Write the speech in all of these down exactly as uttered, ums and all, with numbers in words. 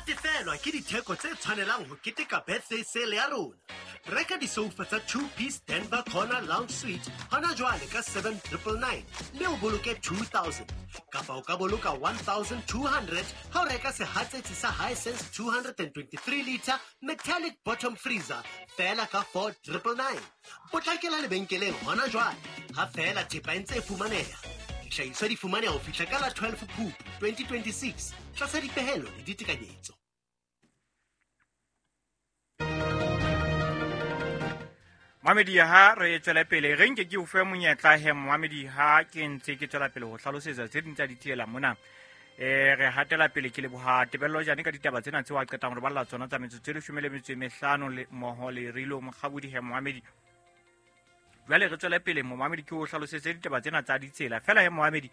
Natefelwa ke ditheko tse tshwanelang ho keteka birthday sale ya rona. Reka disoufa tsa two-piece Denver Corner Lounge Suite hona jwale ka seven triple nine mme o boloke two thousand. Kapa o ka boloka one thousand two hundred ha o reka sehatsetsi sa Hisense two hundred and twenty-three liter metallic bottom freezer feela ka four triple nine. Potlakela lebenkeleng hona jwale ha feela thepa e ntse e fumaneha. Dihlahiswa di fumaneha ho fihla ka la twelve Phupu twenty twenty-six tlasa dipehelo le ditekanyetso. Mamedi ha re tswela pele re nke ke o fe monyetla he Mamedi ha ke ntse ke tswela pele ho hlalosetsa tse ding tsa ditsela mona. Eh re hatela pele ke leboha Tebello Jane ka ditaba tsena tseo a qetang re balla tsona tsa metsotso e leshome le metso e mehlano le mmoho le Rilo Mokgabudi he Mamedi. Jwale re tswela pele Mamedi ke o hlalosetse ditaba tsena tsa ditsela fela he Mamedi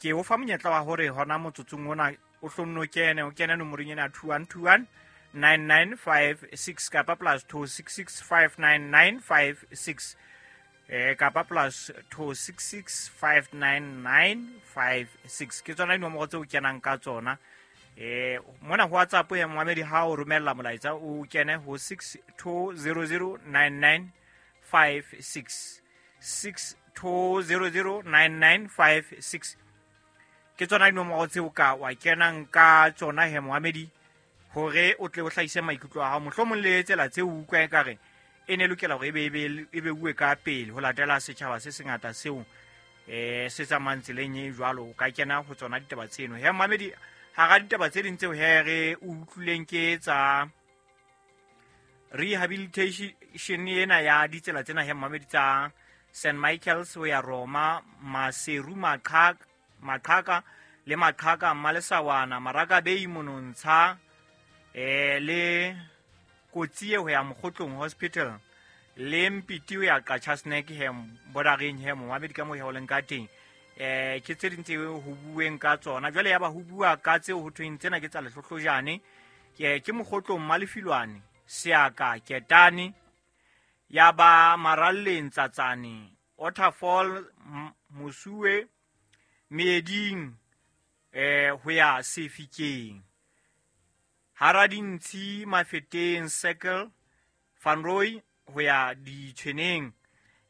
ke o fa monyetla wa hore hona motsotsong ona o hlonno kene o kene nomorong ena two one two one nine nine five six kapa plus two six six five nine nine five six eh kapa plus two six six five nine nine five six ke tsona dinomoro tseo kenang ka tsona. Eh mona ho WhatsApp ya Mamedi ha o romella molaetsa o kene ho six two zero zero nine nine five six six two zero zero nine nine five six ke tsona dinomoro tseo ka wa kenang ka tsona he Mamedi hore o tle o hlahise maikutlo a hao mohlomong le tsela tseo o utlwa ekare e ne lokela hore ebe ebe ebe uwe ka pele ho latela setjhaba se sengata seo eh se tsamayang tseleng e jwalo o ka kena ho tsona ditaba tseno he Mamedi hara ditaba tse ding tseo he re utlwileng ke tsa rehabilitation ena ya ditsela tsena he Mamedi tsa Saint Michael's ho ya Roma Maseru Maqhaka Maqhaka le Maqhaka Malesawana Marakabei Monontsha eh le Kotsi ho ya Mokgotlong Hospital le Mpiti ho ya Qacha Snack he borareng he Mamedi ka mo he o leng ka teng eh ke tse ding tse ho bueng ka tsona jwale ya ba ho bua ka tseo ho thweng tsena ke tsa lehlohlojane ke ke Mokgotlong Malefilwane Seaka Ketane ya ba Maralleng Tsatsane Waterfall Mosuwe Meeding eh ho ya Sefikeng Haradintsi Mafeteng Circle Van Roy ho ya Ditshweneng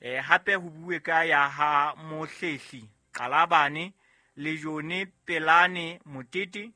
eh hape ho bue ka ya ha Mohlehli Qalabane le Jone Pelane Motete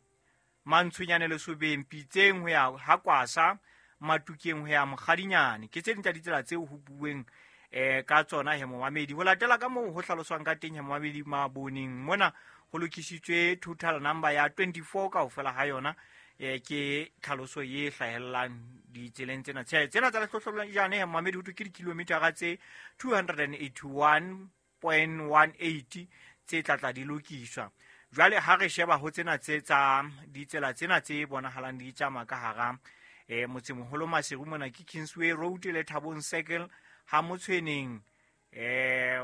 Mantshunyane Lesobeng Pitseng ho ya ha Kwasa Matukeng ho ya Mokgadinyane ke tse ding tsa ditsela tseo ho bueng eh ka tsona he Momamedi ho latela ka moo ho hlaloswang ka teng he Momamedi maboneng mona ho lokisitswe total number ya twenty-four kaofela ha yona eh ke tlhaloso e hlahellang ditseleng tsena tse tsena tsa lehlohlolojane he Momamedi ho thwe ke dikilometara tse two hundred eighty-one point one eight tse tlatla di lokiswa. Jwale ha re sheba ho tsena tse tsa ditsela tsena tse bonahalang di tsamaya ka hara eh motsemoholo Maseru mona ke Kingsway Road le Thabong Circle ha Motshweneng eh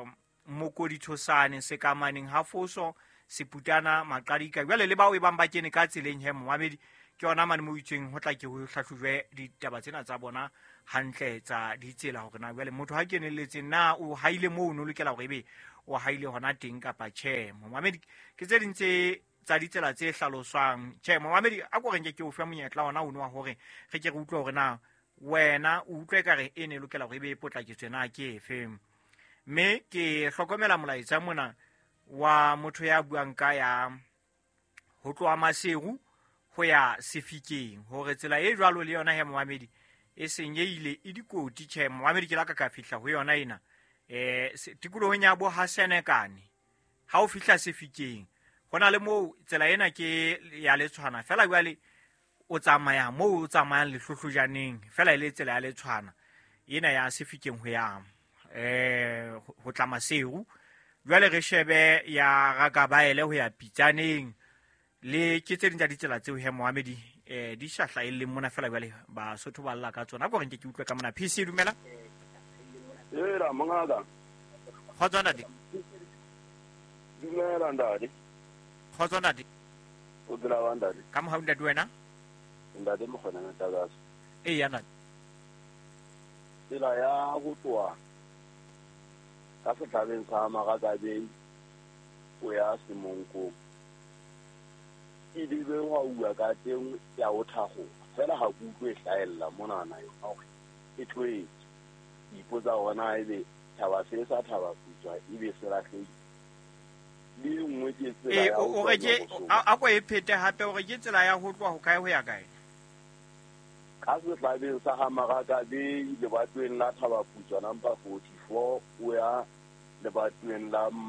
Mokodithosane Sekamaneng ha Foso Seputana Maqadika jwale le bao e bang ba kene ka tseleng he Momamedi ke yona mane mo itsweng ho tla ke ho hlahlojwe ditaba tsena tsa bona hantle tsa ditsela hore na jwale motho ha kenelletse na o haile moo o lokela hore ebe o haile hona teng kapa tjhe Momamedi ke tse ding tse tsa ditsela tse hlaloswang tjhe Momamedi a ko re nke ke o fe monyetla ona ono wa hore re ke re utlwe hore na wena o utlwe ekare e ne lokela hore ebe e potlaketswe na ke efe mme ke hlokomela molaetsa mona wa motho ya buang ka ya ho tloha Maseru ho ya Sefikeng hore tsela e jwalo le yona he Momamedi e senyehile e dikoti tjhe Momamedi ke la ka ka fihla ho yona ena eh tikolohong ya bo ha Senekane ha o fihla Sefikeng hona le moo tsela ena ke ya Letshwana fela jwale o tsamaya moo o tsamayang lehlohlojaneng fela e le tsela ya Letshwana ena ya Sefikeng ho ya eh ho tla Maseru jwale re shebe ya Rakabaele ho ya Pitsaneng le ke tse ding tsa ditsela tseo he Momamedi eh di shahla e leng mona fela jwale Basotho ba lla ka tsona ko re nke ke utlwe ka mona P C dumela Era mongaka Kgotso ntate Dumela ntate Kgotso ntate O phela wa ntate Ka mohau ntate wena Ntate Mokgona Ntakatso Ee ya ntate Tsela ya go tloha ka setlhabeng sa Marakabei o ya Semonkong E lebe hwa uwa ka teng ya ho thakgoha. Feela ha ke utlwe e hlahella monana yona hore e tlohetse. Ke ipotsa hore na ebe tjhaba se sa thaba putswa ebe se lahlehile. Le e nngwe ke tsela Ee, ya o ho o tloha re ke Nyoroso. a a ko e phete hape o re ke tsela ya ho tloha ho kae ho ya kae? Ka sehlabeng sa ha Maraka Bay lebatoweng la Thaba Putswa number forty-four o ya lebatoweng la